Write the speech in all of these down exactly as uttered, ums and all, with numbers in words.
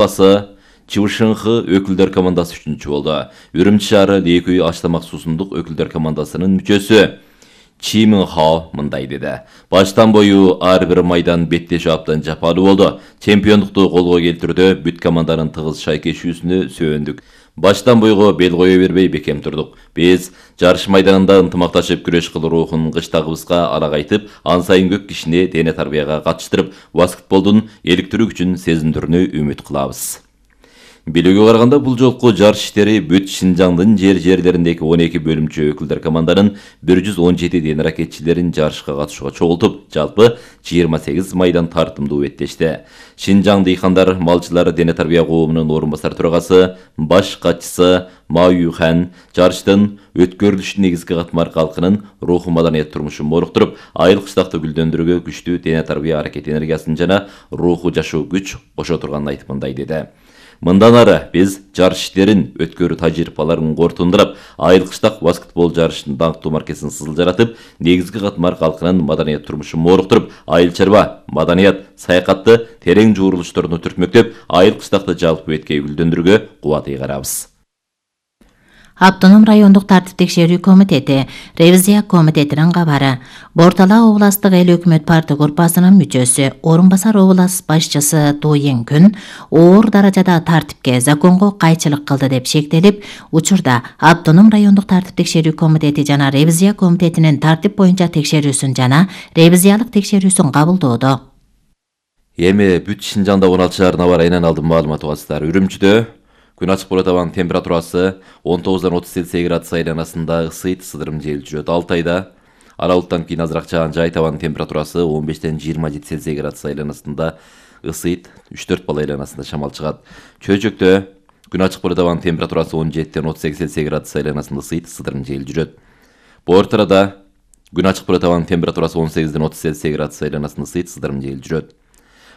Басы Чывышыңхы өкүлдөр командасы үчүнчү болду. Үрүмчү шаары Лекүй Аштамак суусундук өкүлдөр командасынын мүчөсү Чи Мин Хао мындай деди. Баштан бою ар бир майдан беттешүү абдан жапалуу болду. Чемпиондукту колго келтирүүдө бүт команданын тыгыз шайкешүүсүнө сүйөндүк. Баштан бойго бел кое бербей бекем турдук. Биз жарыш майданында ынтымакташып күрөш кылуу рухун кыштагыбызга арагайтып, ан сайын көп кишини дене тарбияга катыштырып, баскетболдун эликтирүү күчүн сезиндирүүнү үмүт кылабыз. Билүүгө караганда бул жолку жарыш иштери бүт Шинжаңдын жер-жерлериндеги он эки бөлүмчө өкүлдөр команданын бир жүз он жети дене ракетчилерин жарышка катышууга чогултуп, жалпы жыйырма сегиз майдан тартымдуу өттешти. Шинжаң дыйкандар малчылар дене тарбия коомунун орун басар төрагасы, баш катчысы Ма Юхан жарыштын өткөрүлүшү негизги катмар калкынын руху маданият турмушун моруктуруп, айыл кыштакты гүлдөндүрүүгө күчтүү дене тарбия аракет энергиясын жана руху жашоо күч кошо турганын айтып мындай деди. Мындан ары биз жарыш иштерин өткөрүү тажрыйбаларын корутундурап, айыл кыштак баскетбол жарышынын даңктуу маркесин сызылжаратып, негизги катмар калкынын маданият турмушун моруктуруп, айыл чарба, маданият, саякатты терең жуурулуштарына түртмөктөп, айыл кыштакты жалпы беткей гүлдөндүрүүгө кубат ыйгарабыз. Автоном райондук тартип текшерүү комитети, ревизия комитетинин кабары. Бортала областык эл өкмөт парты группасынын мүчөсү, орун басар област башчысы Туйин Күн оор даражада тартипке, законго кайчылык кылды деп шектелип, учурда автоном райондук тартип текшерүү комитети жана ревизия комитетинин тартип боюнча текшерүүсүн жана ревизиялык текшерүүсүн кабылдоодо. Эми бүт Шинжаңда он алты шаарына бар айынан алдын маалымат угасыздар. Үрүмчүдө күн ачык болот, абанын температурасы он тогуздан отуз Цельсий градус айланасында ысыйт, сыдырым жел жүрөт. Алтайда ара булуттан кийин азыраак жаан жайт, абанын температурасы он бештен жыйырма жети Цельсий градус айланасында ысыйт, үч төрт балл айланасында шамал чыгат. Чөйчөктө күн ачык болот, абанын температурасы он жетиден отуз сегиз Цельсий градус айланасында ысыйт, сыдырым жел жүрөт. Бортарада күн ачык болот, абанын температурасы он сегизден отуз Цельсий градус айланасында ысыйт, сыдырым жел жүрөт.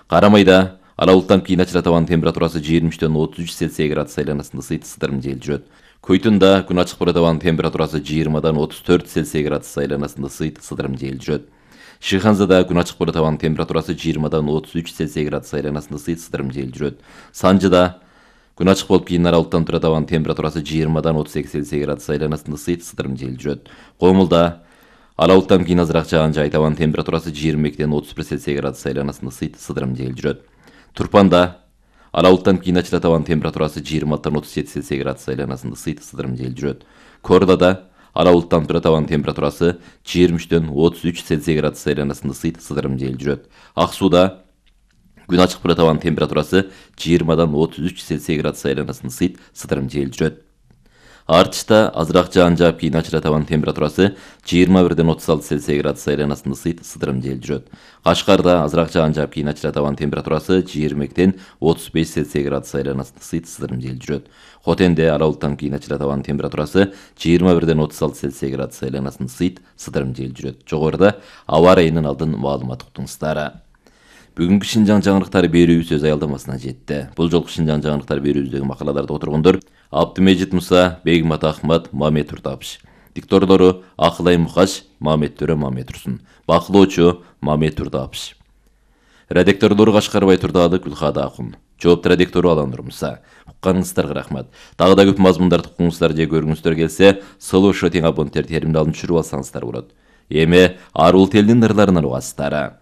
Карамайда ара булуттан кийин ачырат, абанын температурасы жыйырма үчтөн отуз үч Цельсий градус айланасында ысыйт, сыдырым жел жүрөт. Көйтүндө күн ачык болот, абанын температурасы жыйырмадан отуз төрт Цельсий градус айланасында ысыйт, сыдырым жел жүрөт. Шыханзада күн ачык болот, абанын температурасы жыйырмадан отуз үч Цельсий градус айланасында ысыйт, сыдырым жел жүрөт. Санжыда күн ачык болуп кийин ара булуттан турат, абанын температурасы жыйырмадан отуз эки Цельсий градус айланасында ысыйт, сыдырым жел жүрөт. Комулда ара булуттан кийин азыраак жаан жайт, абанын температурасы жыйырма экиден отуз бир Цельсий градус айланасында ысыйт, сыдырым жел жүрөт. Турпанда ара булуттан кийин ачырат, абанын температурасы жыйырма алтыдан отуз жети Цельсий градус айланасында ысыйт, сыдырым жел жүрөт. Кордада ара булуттан турат, абанын температурасы жыйырма үчтөн отуз үч Цельсий градус айланасында ысыйт, сыдырым жел жүрөт. Ак сууда күн ачык болот, абанын температурасы жыйырмадан отуз үч Цельсий градус айланасында ысыйт, сыдырым жел жүрөт. Артышта азыраак жаан жаап кийин ачырат, абанын температурасы жыйырма бирден отуз алты Цельсий градус айланасында ысыйт, сыдырым жел жүрөт. Кашкарда азыраак жаан жаап кийин ачырат, абанын температурасы жыйырма экиден отуз беш Цельсий градус айланасында ысыйт, сыдырым жел жүрөт. Хотенде ара булуттан кийин ачырат, абанын температурасы жыйырма бирден отуз алты Цельсий градус айланасында ысыйт, сыдырым жел жүрөт. Жогоруда аба ырайынын алдын маалымат уктуңуздар. Бүгүнкү Шинжаң жаңылыктары берүүбүз өз аялдамасына жетти. Бул жолку Шинжаң жаңылыктары берүүбүздөгү макалаларды отургондор Абдымежит Муса, Бегмат Ахмат, Мамет Туртапыш. Дикторлору Акылай Мукаш, Мамет Төрө Мамет Турсун. Бакылоочу Мамет Туртапыш. Редакторлору Кашкарбай Турдалы, Гүлхада Акун. Жооп редактору Алан Нурмуса. Укканыңыздарга рахмат. Дагы да көп мазмундарды укуңуздар же көргүңүздөр келсе, Солошо тең абоненттер теримин алып түшүрүп алсаңыздар болот. Эми арул телдин ырларынан угасыздар.